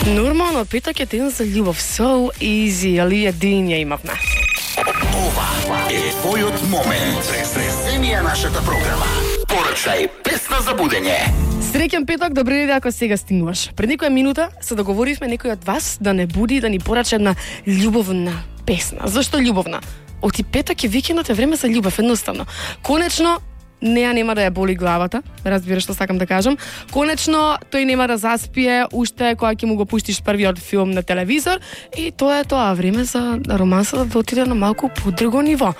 Нормално, петок е ден за љубов. So easy, али един ја имавме. Ова е твојот момент. Преземија нашата програма. Порачај песна за будење. Среќен петок, добри луѓе ако сега стигнуваш. Пред некоја минута се договоривме некој од вас да не буди да ни порача една љубовна песна. Зашто љубовна? Оти петок е викендот, е време за љубов, едноставно. Конечно, неа нема да ја боли главата, разбираш што сакам да кажам. Конечно, тој нема да заспие уште кога ќе му го пуштиш првиот филм на телевизор и тоа е тоа време за романсата да отиде на малку подруго ниво.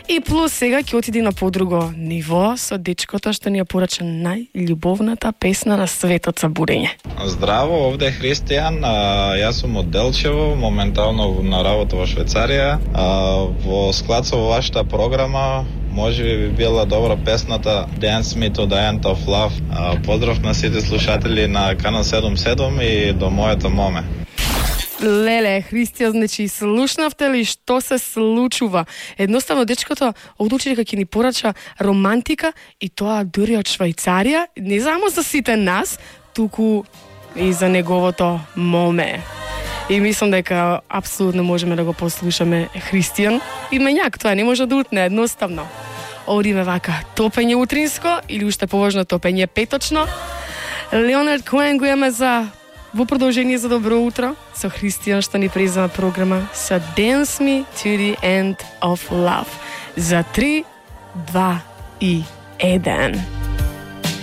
И плюс сега ќе отиде на подруго ниво со дечкото што ни ја порача најљубовната песна на светот за будење. Здраво, овде е Христијан, јас сум од Делчево, моментално на работа во Швајцарија. Во склад со вашата програма може би била добра песната Dance Me to the End of Love. Поздрав на сите слушатели на Канал 77 и до мојата моме. Леле, Христија, значи, слушнавте ли што се случува? Едноставно, дечкото одлучи дека ќе ни порача романтика и тоа дури од Швајцарија, не само за сите нас, туку и за неговото моме. И мислам дека апсолутно можеме да го послушаме Христијан. И мењак, тоа не може да утне, едноставно. Одиме вака, топење утринско или уште поважно топење петочно. Леонард Коен го имаме во продолжение за добро утро со Христијан што ни презема програма со Dance Me to the End of Love. За 3, 2 и 1.